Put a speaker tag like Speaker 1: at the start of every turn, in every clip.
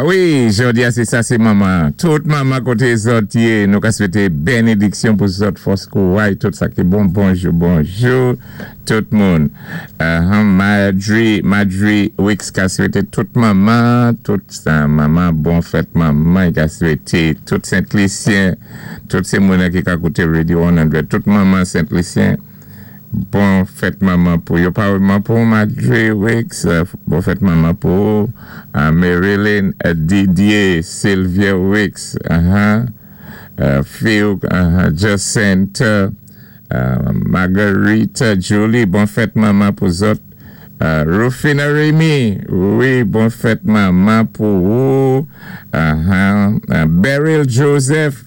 Speaker 1: A wi, jòdi-a sé sa sé manman. Tout manman koté zòt yé, nou ka swété bénédiksyon pou zòt, fòs, kouway, tout sa ki bon. Bonjou, bonjou, tout moun. Marjorie, Marjorie Wicks ka swété tout manman, tout sa manman, bon fèt manman, i ka swété tout Sent-Lisyen, tout sé moun ki ka kouté Radio 100, tout manman Sent-Lisyen, bon fèt manman pou yo. Parèyman pou Marjorie Wicks, bon fèt manman pou Marilyn Didier, Sylvia Wicks, Phil, Jacinta, Marguerite, Julie, bon fèt manman pou zòt. Rufina Remy, wi, bon fèt manman pou ou. Beryl Joseph,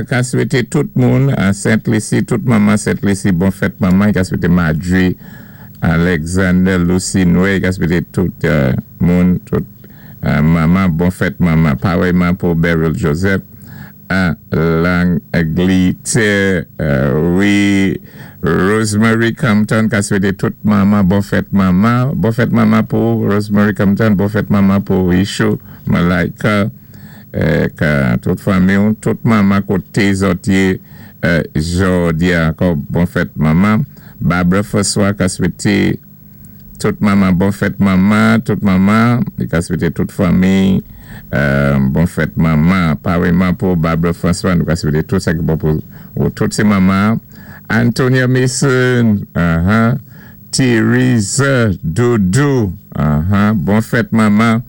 Speaker 1: ka swété tout moun an Saint-Lucie, tout manman Saint-Lucie, bon fèt manman. Ka swété Marjorie, Alexander, Lucy Noé, ka swété tout moun, tout manman, bon fèt manman. Parèyman pou Beryl Joseph, an Langletè, wi, Rosemary Compton, ka swété tout manman, bon fèt manman, bon fèt manman pou Rosemary Compton, bon fèt manman pou Ishu, Malaika, ka tout fanmi, tout manman koté zòt yé jòdi-a ankò, bon fèt manman. Barbara François ka swété tout manman bon fèt manman, tout manman, li ka swété tout fanmi bon fèt manman. Parèyman pou Barbara François, nou ka swété tout sa ki bon pou tout sé manman. Antonia Mason, Theresa Doudou, bon fèt manman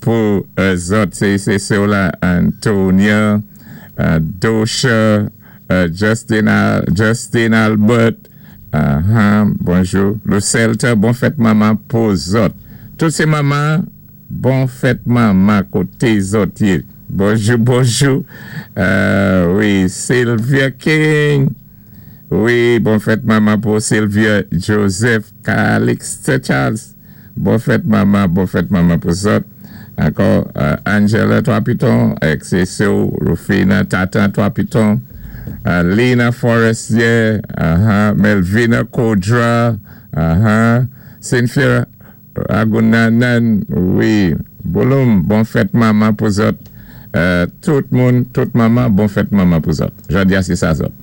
Speaker 1: pou zòt, sé sé la Antonia, Dosha, Justin, Justin Albert, bonjou. Lucelta, bon fèt manman pou zòt. Tout sé manman, bon fèt manman koté zòt yé. Bonjou, bonjou. Wi, Sylvia King. Wi, bon fèt manman pou Sylvia Joseph Calixte Charles. Bon fèt manman, bon fèt manman pou zòt. Ankò, Angela Trois-Pitons, XSO, Rufina Tatan Trois-Pitons, Lena Forestier, Melvina Kodra, Cynthia Ragunanan, wi, Bouloum, bon fèt manman pou zòt. Tout moun, tout manman, bon fèt manman pou zòt. Jòdi-a sé sa zòt.